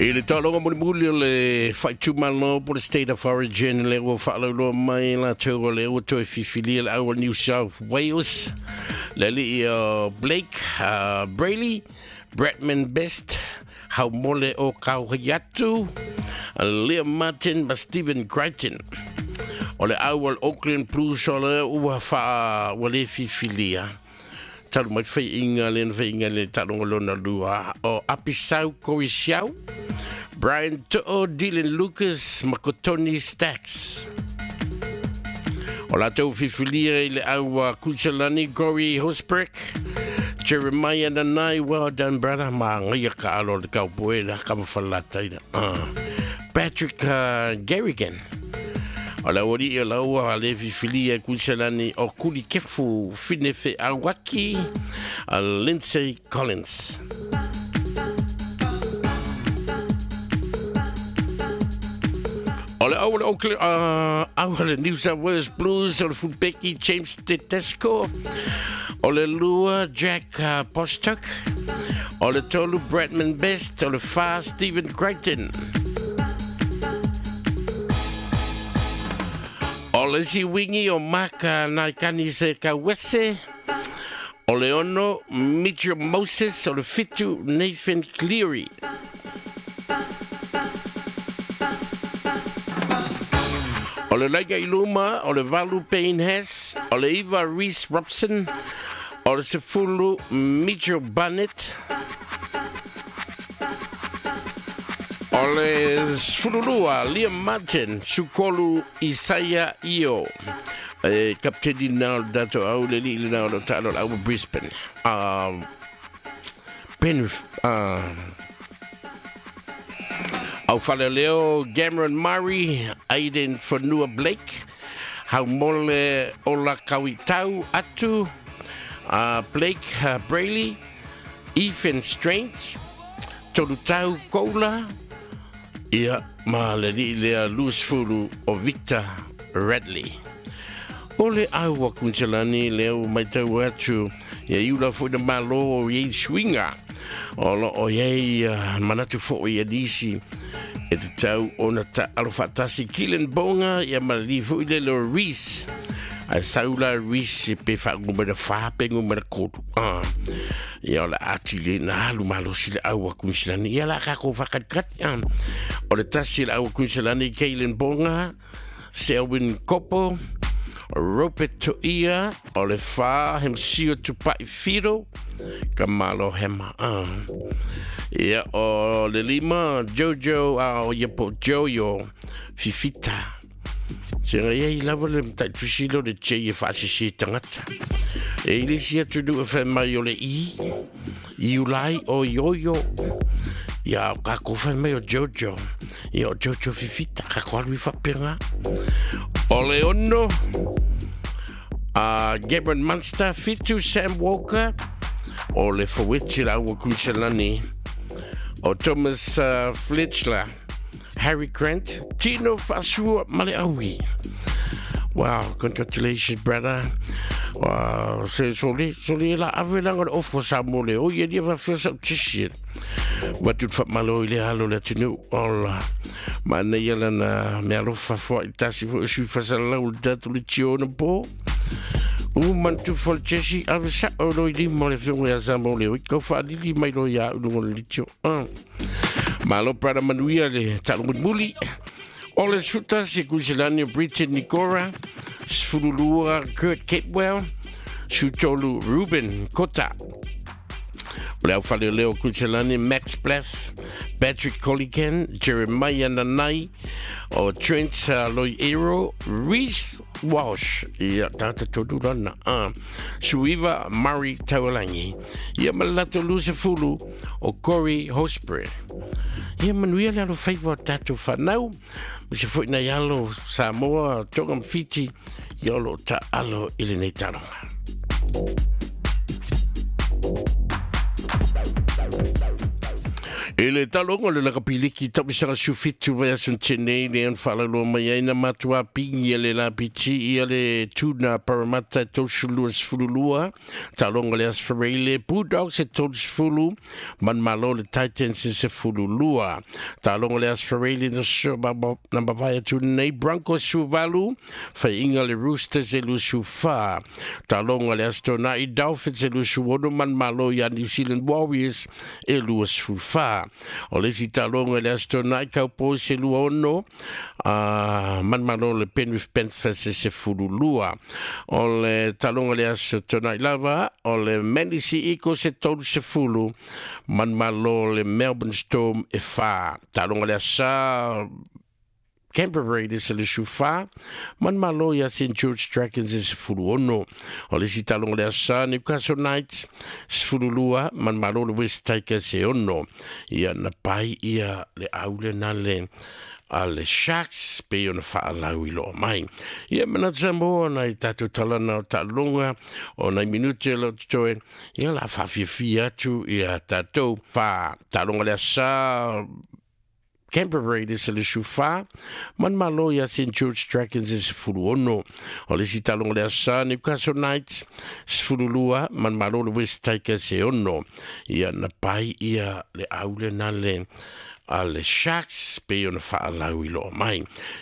I le taaloga mulimuli o le faaitumalo po le State of Origin le ua faalauloa mai latou o le ua toe fifilia le au o New South Wales le alii o Blake Brailey, Bradman Best, Haumole o Kauhaiatu, Liam Martin ma Stephen Crichton. O le au o le Auckland Blues o le ua faa ua le fifilia talu mai faiinga le na faiinga le taaloga lona lua o Apisau Koisiau, Brian To'o, Dylan Lucas ma ko Tony Stacks. O latou fifilia i le au a Kuisalani, Corey Hosbrick, Jeremiah Nanai, well done brother, ma ngaia ka alo le kaupoe la kama falataina. Patrick Garrigan. O le aualii o laua le fifilia Kuisalani o Kuli Kefu Finefe Awaki, Lindsay Collins. O le au o le Oakland, au o le New South Wales Blues, o le Fulbeki James Tedesco, o le lua Jack Bostock, o le tolu Bradman Best, o le fa Stephen Crichton. O le isi wingi o Mark Naikani se Kawese, o le ono Mitchell Moses, o le 7 Nathan Cleary. O le laika i luma, o le 8 Payne Hess, o le 9 Reece Robson, o le 10 Mitchell Barnett, o le 12 Liam Martin, Sukolu Isaiah Io, e kapteni na o le tatou au le alii lena o lo taalo le au Brisbane. Ben au Faleleo, Cameron Murray, Aiden Fanua Blake, Haumole Ola Kawitau Atu, Blake Brailey, Ethan Strange, Tolutau Koula, ia ma le alii lea Louis Fulu o Victor Radley. O le au a Kuisalani lea ua matau atu ia iula foi na malo o iai suiga o lo o iai manatu foi ia nisi e tatau ona taalo faatasi Keelan Bonga ia ma le alii foi lele o Reece ae sau la Reece pe faagumera 4 pe gumera 3. Ia o le ati le na alu malosi le au a Kuisalani ia la kako whakatikati. O le tasi le au a Kuisalani Keelan Bonga, Selwyn Kopo, Robert Toia, o le 4 Hemsio Tupai Whiro, ka malo hema. Ia o le 5 Jojo o ia po Jojo Fifita. Se ngai ai lava le matai tusilo le tei e whaasisi tangata. E ile si atu nu e whai mai o le i, iulai o yoyo. Ia o kako whai mai o Jojo. Ia o Jojo Fifita, kako alu i whapenga. O le 6, Gabriel Munster, 7 Sam Walker, o le Faweti la ua Kuisalani, o Thomas Fletchler, Harry Grant, Tino Fasua Maleaui. Wow, congratulations, brother. Wow, se soli la ave langa le ofo sa mole. O ia lia whawhia sa utisi. Watu whamalo i le halo le atunu. Ola. Mana ia lana mea alofa fua i tasi fo sui fasalau le tatu le tio na po. U mantu fo le chesi ave sa o loi lima le whionga ia sa mole. O i kau whaalili mai lo ia ulungo le litio. Malo brother manuia le talungu muli. O le 11 Kuisalani o Bridget Nikora, 12 Kurt Capewell, 13 Ruben Kota. O le au Faleleo Kuisalani Max Blaff, Patrick Colligan, Jeremiah Nanai, o Trent Loiero, Reece Walsh, ia tata tonu lana, Suiva Murray Taualangi, ia malato Lusa Fulu, o Corey Hosbury. Ia manuia le alo faiva o tātou whanau, ma se foi nei alo Samoa, Tonga ma Fiti, ia o lo ta alo i lenei taaloga. I le taaloga o le Lakapi Liki tausaga 17 vaiaso na tea nei lea na faalauloa mai ai na matuā pigi e le lapiti ia le Tuna Parramatta e 32-12. Taaloga o le Aso Faraile, Bulldogs e 30, manumalo le Titans e 12. Taaloga o le Aso Faraile na mavae atu nei, Broncos 18, faiiga le Roosters e 24. Taaloga o le Aso Toonai, Dolphins e 26, manumalo ia New Zealand Warriors e 24. O le isi taaloga i le Aso Toonai, Cowboys e 26, manumalo le Penrith Panthers e 12. O le taaloga i le Aso Toonai lava, o le Manly Sea Eagles e 30, manumalo le Melbourne Storm e 4. Taaloga i le Aso Sa, Canberra Raiders e 24, manumalo ia St George Dragons e 16. O le isi taaloga o le Aso Sa, Newcastle Knights 12, manumalo le West Tigers e 6. Ia na pai ia le aule na le a le Sharks pe ona faalau i loa mai. Ia manatu sa mo na i tātou talana o taaloga o nai minute o lo totoe, ia la whawhiawhia atu ia tātou wha taaloga le Aso Sa, Canberra Raiders e 24, manumalo ia St George Dragons e 16. O le isi taaloga o le Aso Sa, Newcastle Knights 12, manumalo le West Tigers e 6. Ia na pai ia le aule na le a le Sharks pe ona faalau i loa mai.